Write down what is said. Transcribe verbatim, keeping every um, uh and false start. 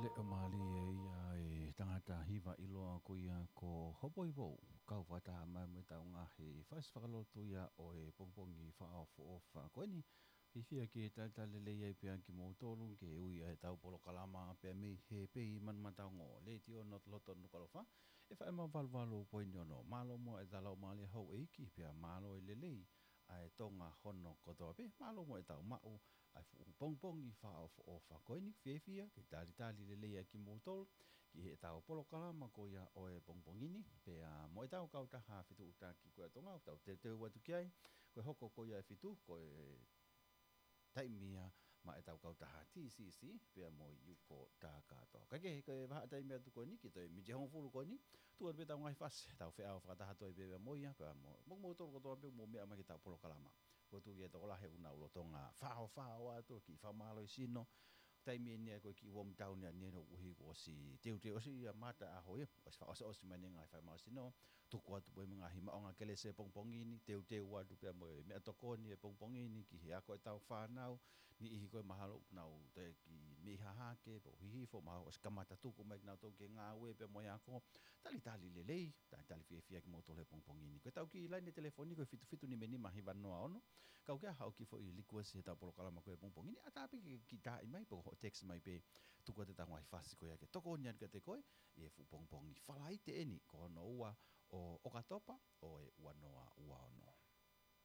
Leʻo mālie ia e tangata hiva ʻiloa ko ia ko Hopoivou, kau fakataha mai mo ʻetau ngaahi fasi fakalotu ia ʻo e pongipongi fakaʻofoʻofa ko eni. Fiefia ke talitali lelei ai pea kimoutolu ke ui ʻa ʻetau polokalama pea mei he pei Manumataongo, Letiō North Loto Nukuʻalofa, ʻe fā ema valu valu poini ono. Mālō muʻa e tala ʻo mālie houʻeiki pea mālō e lelei ʻa e Tonga hono kotoa pē. Mālō muʻa ʻetau maʻu ʻa e fuʻu pongipongi fakaʻofoʻofa ko eni. Fiefia ke talitali lelei ai kimoutolu ki heʻetau polokalama ko ia ʻo e pongipongi ni, pea mo ʻetau kautaha fetuʻutaki ko ia ʻa Tonga, ʻoku tau teuteu atu ki ai, ko e hoko ko ia e fitu, ko e taimi ia maʻa ʻetau kautaha T C C pea mo Yuko Takatoa. Kae kehe, ko e vahaʻa taimi atu ko eni ki he toe miniti ʻe hongofulu ko eni, tuku atu pē ʻetau ngaahi fasi, tau feʻao fakataha toe pē pea mo ia, pea mo, mo kimoutolu kotoa pē ʻoku mou meʻa mai ki heʻetau polokalama. Ko e tuʻu ki he tokolahi ʻoku nau lolotonga fāofao atu, kiʻi fakamālohisino. Taimi eni ia ko e kiʻi warm down ia ʻeni he ʻoku ʻuhi kuo ʻosi teuteu, ʻosi ia mata ʻaho ia, ʻosi fakaʻosiʻosi mai ʻeni e ngaahi fakamālohisino. Tuku atu pē mo e ngaahi maʻuʻanga kelesi e pongipongi ni, teuteu atu pea mo e meʻatokoni e pongipongi ni ki he ako ʻetau fānau, niʻihi ko ē mahalo ʻoku nau toe kiʻi mei hahake, pe ʻoku hihifo, mahalo ʻosi kamata tuku mai kinautolu ki he ngāue pea mo e ako. Talitali lelei, talitali fiefia kimoutolu he pongipongi ni. Ko ʻetau kiʻi laine telefoni ko e fitu fitu nima nima hiva noa ono. Ka ʻoku ʻi ai haʻo kiʻi foʻi likuesi heʻetau polokalama ko ē he pongipongi ni, ʻatā pē ke kiʻi taaʻi mai pe ko hoʻo text mai pē, tuku atu ʻetau ngaahi fasi ko ia ke tokoni atu kiate koe ʻi he fuʻu pongipongi Falaite ʻeni, ko hono ua ʻo ʻOkatopa ʻo e ua noa ua ono.